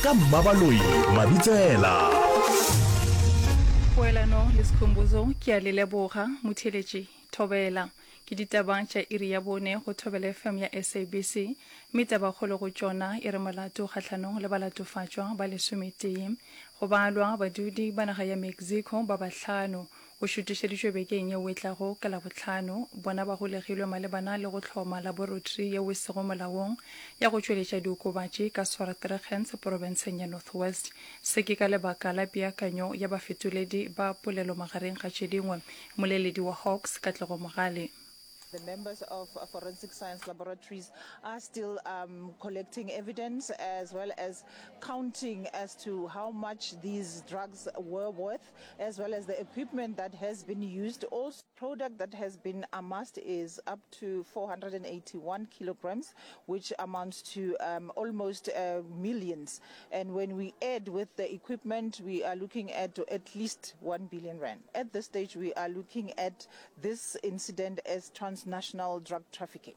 ka Mmabaloi Mabitsela. Poelano le Skhumbuzo ke a le leboga. Motheeletši, Thobela. Ke ditaba tša iri ya bone go Thobela FM ya SABC, mme tabakgolo go tšona e re molato kgahlanong le balatofatšwa ba lesometee. Go balwa badudi ba naga ya Mexico ba bahlano O šutišeditšwe bekeng yeo e tlago ka Labohlano. Bona ba golegilwe malebana le go hloma laborotri yeo e sego molaong ya go tšweletša diokobatši ka Swartregens porobenseng ya North West. Se ke ka lebaka la peakanyo ya bafetoledi ba polelo magareng ga tše dingwe. Mmoleledi wa Hawks, Katlego Mogale. The members of Forensic Science Laboratories are still um, collecting evidence as well as counting as to how much these drugs were worth, as well as the equipment that has been used. Also, product that has been amassed is up to 481 kilograms, which amounts to um, almost uh, millions. And when we add with the equipment, we are looking at at least 1 billion rand. At this stage, we are looking at this incident as transnational drug trafficking.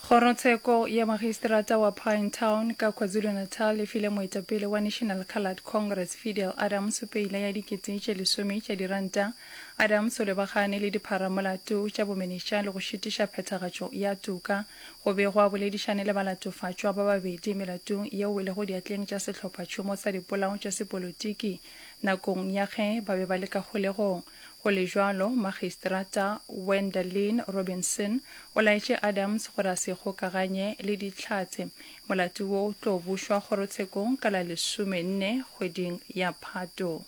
Kgorotsheko ya Magistrata wa Pinetown ka KwaZulu-Natal e file moetapele wa National Coloured Congress Fidel Adams peila ya dikete tše lesome tša diranta. Adams o lebagane le dipharamolato tša bomenetša le go šitiša phethagatšo ya toka. Go be gwa boledišane le balatofatšwa ba babedi melatong yeo e lego diatleng tša sehlophatšhomo sa dipolao tša sepolotiki nakong ya ge ba be ba le ka kgolegong. Go le bjalo, Magistrata Wendelin Robinson o laetše Adams gore a se ikgokaganye le Dihlatse. Molato wo o tlo bušwa kgorotshekong ka la lesomenne kgweding ya Phato.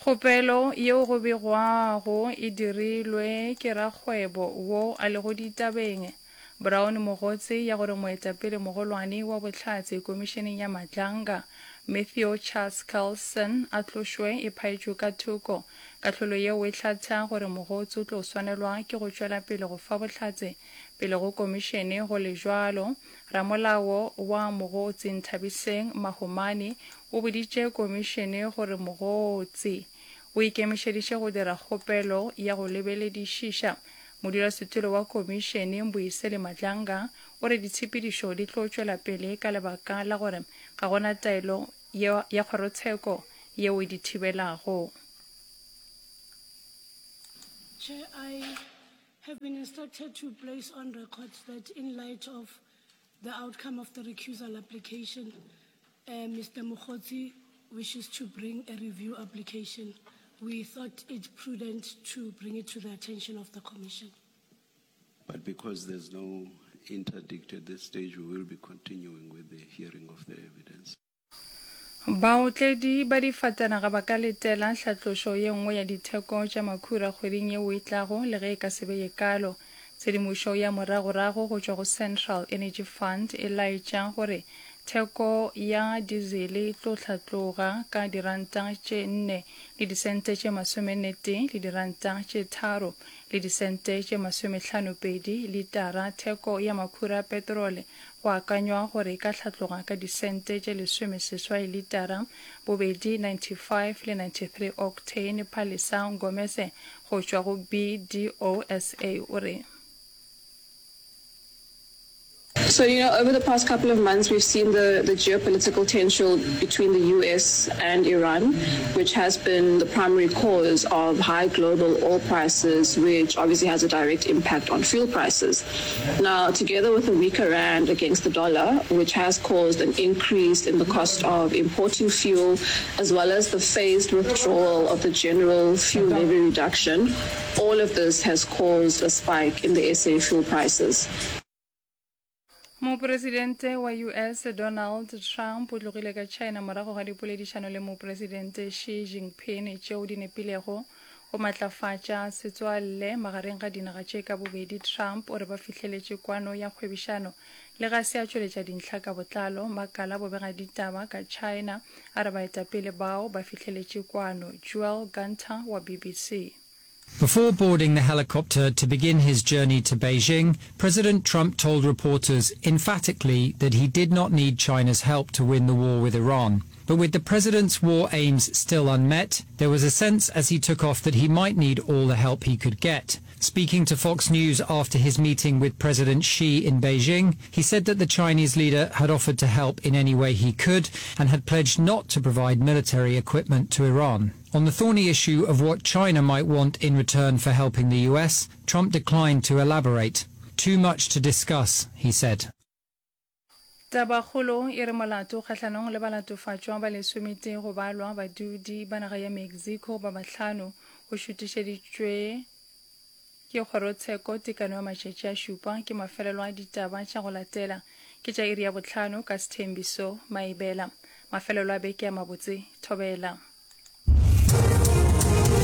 Kgopelo yeo go begwago e dirilwe ke rakgwebo wo a lego ditabeng, Brown Mogotsi ya gore moetapele mogolwane wa bohlatse komišeneng ya Matlanga, Matthew Chaskalson a tlošwe e phaetšwe ka thoko. Kahlolo yeo e hlatha gore Mogotsi o tlo swanelwa ke go tšwela pele go fa bohlatse pele go komišene go le bjalo Ramolao wa Mogotsi Nthabiseng Mahomane o boditše komišene gore Mogotsi o ikemišeditše go dira kgopelo ya go lebeledišiša. Modulasetulo wa komišene Mbuyiseli Madlanga o re ditshepedišo di tlo tšwela pele ka lebaka la gore ga go na taelo ya kgorotsheko yeo e di thibelago. Chair, I have been instructed to place on record that in light of the outcome of the recusal application, uh, Mr. Mukhozi wishes to bring a review application. We thought it prudent to bring it to the attention of the Commission. But because there's no interdict at this stage, we will be continuing with the hearing of the evidence. Baotledi ba difatanaga ba ka letela hlatlošo ye nngwe ya ditheko tša makhura kgweding yeo e tlago le ge e ka se be ye kaalo. Tshedimošo ya moragorago go tšwa go Central Energy Fund e laetša gore theko ya dizele e tlo hlatloga ka diranta tše nne le disente tše masomennetee le diranta tše tharo le disente tše masomehlanopedi litara, theko ya makhura a petrole Go akanywa gore e ka hlatloga ka disente tše lesomeseswai litara, bobedi 95 le 93 octane, Palesa Ngomese go tšwa go BDOSA o re. So, you know, over the past couple of months, we've seen the, the geopolitical tension between the US and Iran, which has been the primary cause of high global oil prices, which obviously has a direct impact on fuel prices. Now, together with the weaker rand against the dollar, which has caused an increase in the cost of importing fuel, as well as the phased withdrawal of the general fuel levy reduction, all of this has caused a spike in the SA fuel prices. Mopresidente wa US Donald Trump o tlogile ka China morago ga dipoledišano le Mopresidente Xi Jinping tšeo di nepilego go matlafatša setswalle magareng ga dinaga tše ka bobedi. Trump o re ba fihleletše kwano ya kgwebišano le ga se a tšweletša dintlha ka botlalo. Makala a bobegaditaba ka China a re baetapele bao ba fihleletše kwano. Joel Gunter wa BBC. Before boarding the helicopter to begin his journey to Beijing, President Trump told reporters emphatically that he did not need China's help to win the war with Iran. But with the president's war aims still unmet, there was a sense as he took off that he might need all the help he could get. Speaking to Fox News after his meeting with President Xi in Beijing, he said that the Chinese leader had offered to help in any way he could and had pledged not to provide military equipment to Iran. On the thorny issue of what China might want in return for helping the US, Trump declined to elaborate. Too much to discuss, he said. Tabakgolo e re molato kgahlanong le balatofatšwa ba lesometee go balwa badudi ba naga ya Mexico ba bahlano o šutišeditšwe ke kgorotsheko tekano ya matšatši a šupa ke mafelelo a ditaba tša go latela ke tša iri ya bohlano ka Sthembiso Maibela. Mafelelo a beke a mabotse. Thobela.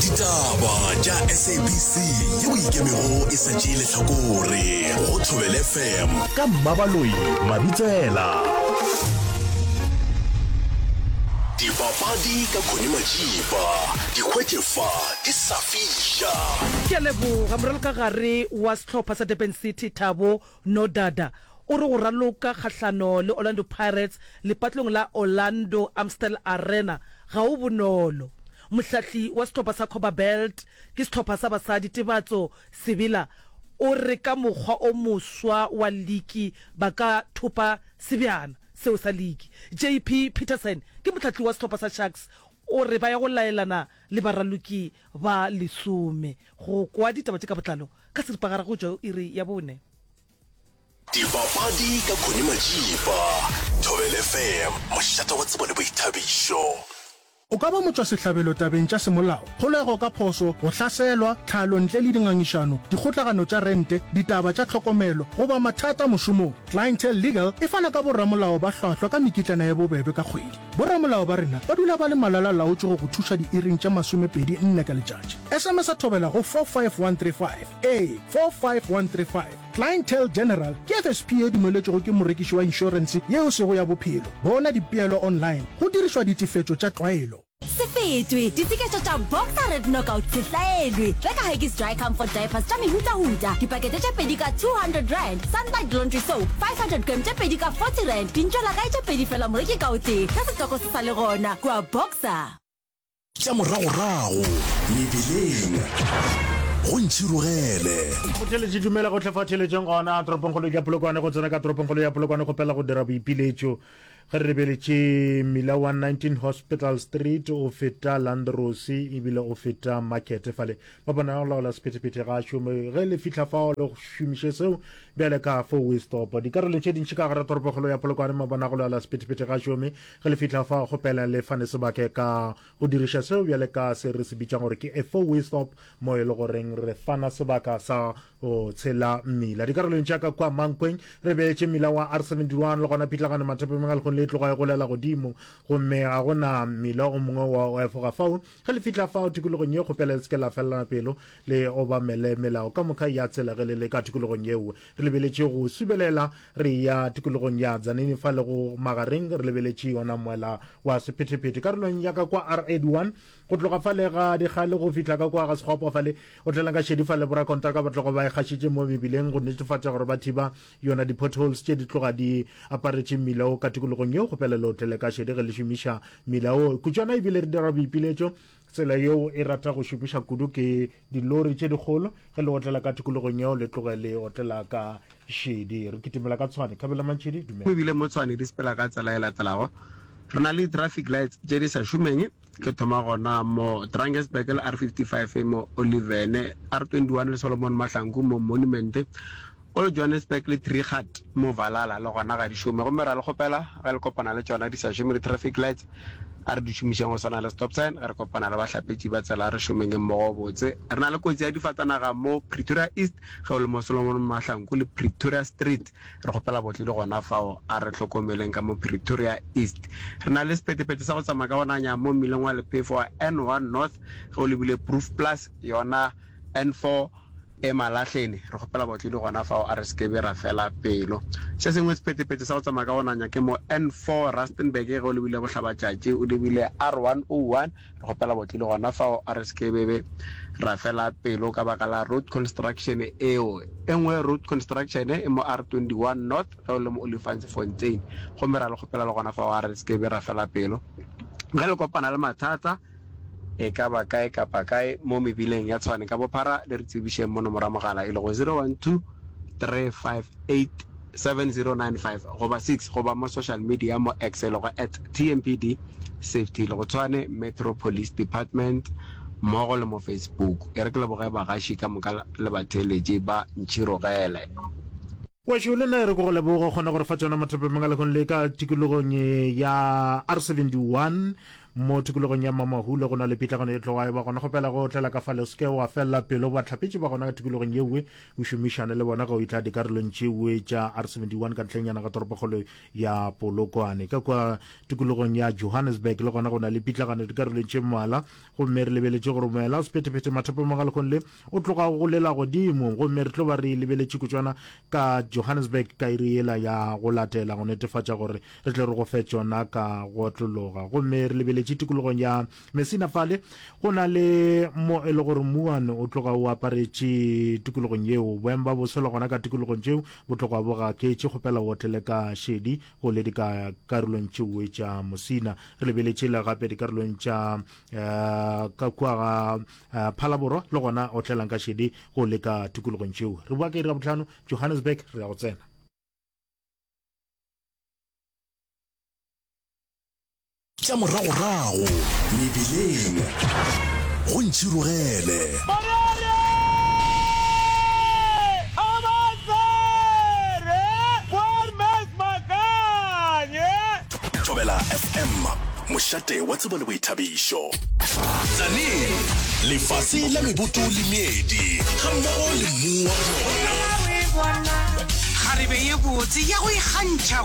Ditaba tša SABC yeo e ikemego e sa tšee lehlakore go Thobela FM ka Mmabaloi Mabitsela. Dipapadi ka Connie Majiba, di hwetše fa di sa fiša. Ke a leboga. Moralokagare wa sehlopha sa Durban City, Thabo Nodada, o re go raloka kgahlano le Orlando Pirates lepatlong la Orlando Amstel Arena ga o bonolo. Mohlahli wa sehlopha sa Copperbelt ke sehlopha sa basadi Tebatso Sebela o re ka mokgwa o moswa wa liki ba ka thopa sebjana seo sa liki. JP Peterson ke mohlahli wa sehlopha sa Sharks o re ba ya go laelana le baraloki ba lesome go kwa ditaba tše ka botlalo ka seripagare go tšwa iri ya bone. Dipapadi ka Connie Majiba, Thobela FM, mošate wa tsebo le boithabišo. O ka ba motšwasehlabelo tabeng tša semolao, kgolego ka phošo, go hlaselwa, tlhalo ntle le dingangišano, dikgotlagano tša rente, ditaba tša tlhokomelo, goba mathata mošomong. Clientele Legal e fana ka boramolao ba hlwahlwa ka mekitlana ye bobebe ka kgwedi. Boramolao ba rena ba dula ba le malala-laotšwe go go thuša diiring tše 24 ka letšatši. SMS-a Thobela go 45135. Ee, 45135. Clientele General ke FSP ye dumeletšwego ke morekiši wa inšorense yeo e sego ya bophelo. Bona dipeelo online go dirišwa ditefetšo tša tlwaelo. Se fetwe! Ditseketšo tša Boxer Red Knockout se hlaelwe! Reka Huggies Dry Comfort Diapers tša mehutahuta, dipakete tše pedi ka R200, Sunlight Laundry Soap 500g tše pedi ka R40, dintšwelakae tše pedi fela moreki ka o tee, ge setoko se sa le gona kua Boxer. Tša moragorago mebileng go ntšhirogele. Motheeletši dumela gohle fa theeletšeng gona toropongkgolo ya Polokwane go tsena ka toropongkgolo ya Polokwane kgopela go dira boipiletšo ge re lebeletše mmila wa 19 Hospital Street o feta Landrosi ebile o feta Market fale ba bona go laola sephethephethe ga šome ge le fihla fao le šomiše seo bjale ka four way stop dikarolong tše dintši ka gare toropokgolo ya Polokwane mabona go laola sephethephethe ga šome Ge le fihla fa, kgopela le fane sebake ka go diriša seo bjale ka se re se bitšang gore ke a four-way stop, mo e le goreng re fana sebaka sa go tshela mmila. Dikarolong tša ka kua Mankweng, re beetše mmila wa R71 le gona pitlagano mathapameng a lekgong le e tloga e golela godimo, gomme ga go na mmila o mongwe wa go efoga fao. Ge le fihla fao tikologong ye, kgopela le se ke la felelana pelo, le obamele melao ka moka ya tsela ge le le ka tikologong yeo. Re lebeletše go subelela Re ya tikologong ya Tzaneen fa le go magareng re lebeletše yona moela wa sephethephethe karolong ya ka kwa R81 go tloga fale ga Dikgale go fihla ka kwa ga Sekgwapo fale o tlela ka šedi fale borakontraka ba tloga ba e gašitše mo mebileng go netefatša gore ba thiba yona di-potholes tše di tloga di aparetše mmila wo ka tikologong yeo kgopela le otlele ka šedi ge le šomiša mmila wo kutšwana ebile re dira boipiletšo Tsela yeo e rata go šomiša kudu ke dilori tše dikgolo. Ge le otlela ka tikologong yeo, le tloge le otlela ka šedi. Re kitimela ka Tshwane. Khabela Mantšhidi, dumela. Ebile mo Tshwane di sepela ka tsela e latelago, Re na le di-traffic lights tše di sa šomeng, ke thoma gona mo Drakensberg le R55 mo Olivene, R21 le Solomon Mahlangu mo Monument, Old Johannesburg le Trichardt mo Valhalla le gona ga di šome gomme ra le kgopela ge le kopana le tšona di sa šome di traffic lights a re di šomišeng go swana le stop sign ge re kopana le bahlapetši ba tsela a re šomeng mmogo botse. Re na le kotsi ya difatanaga mo Pretoria East ge o le mo Solomon Mahlangu le Pretoria Street re kgopela botle le gona fao a re hlokomeleng ka mo Pretoria East. Re na le sephethephethe sa go tsamaya ka go nanya mo mmileng wa lephefo wa N1 North ge o lebile Proof Plus yona N4 E malahleni, re kgopela baotledi gona fao a re se ke be ra fela pelo. Se sengwe sephethephethe sa go tsamaya ka go nanya ke mo N4 Rustenburg ge o lebile bohlabatšatši o lebile R101, re kgopela baotledi gona fao a re se ke be be ra fela pelo ka baka la road construction eo. E nngwe road construction e mo R21 North ge o le mo Olifantsfontein gomme ra le kgopela le gona fao a re se ke be ra fela pelo. Ge le kopana le mathata. E ka ba kae kapa kae mo mebileng ya Tshwane ka bophara, le re tsebišeng mo nomoro ya mogala e lego 012 358 7095 goba 6 goba mo social media mo X e lego at TMPD Safety le go Tshwane Metro Police Department mmogo le mo Facebook. E re ke leboge bagaši ka moka le batheeletši ba Ntšhirogele. Wešo, le nna e re ke go leboge o kgone go re fa tšona mathapemeng a lehono le ka tikologong ya R71 mo tikologong ya Mamahule go na le pitlagano e tloga e ba gona. Kgopela go otlela ka fale o se ke wa felela pelo bahlapetši ba gona ka tikologong yewe o šomišane le bona ge o etla dikarolong tšewe tša R71 ka ntlheng ga toropokgolo ya Polokwane. Ka kua tikologong ya Johannesburg le gona go na le pitlagano dikarolong tše mmalwa gomme re lebeletše gore moela o sephethephethe mathapemeng a lehono le O tloga go lela godimo, gomme re tlo ba re lebeletše kutšwana ka Johannesburg ka iri yela ya go latela go netefatša gore re tle re go fe tšona ka go otlologa. Gomme re lebeletše tikologong ya Messina fale, go na le mo e le gore mmuwane o tloga o aparetše tikologong yeo. Boemo ba boso le gona ka tikologong tšeo bo tloga bo gaketše. Kgopela o otlele ka šedi go le dikarolong tšeoe tša Messina. Re lebeletše le gape dikarolong tša um ka kua ga uh, Phalaborwa le gona otlelang ka šedi go leka tikologong tšeo. Re boa ka iri ya bohlano Johannesburg re ya go tsena. Tša moragorago mebileng go ntšhirogele. Thobela FM, mošate wa tsebo le boithabišo. Tzaneen, lefase la meboto le meedi, gammogo le mmu wa bona. Kgarebe ye botse ya go ikgantšha.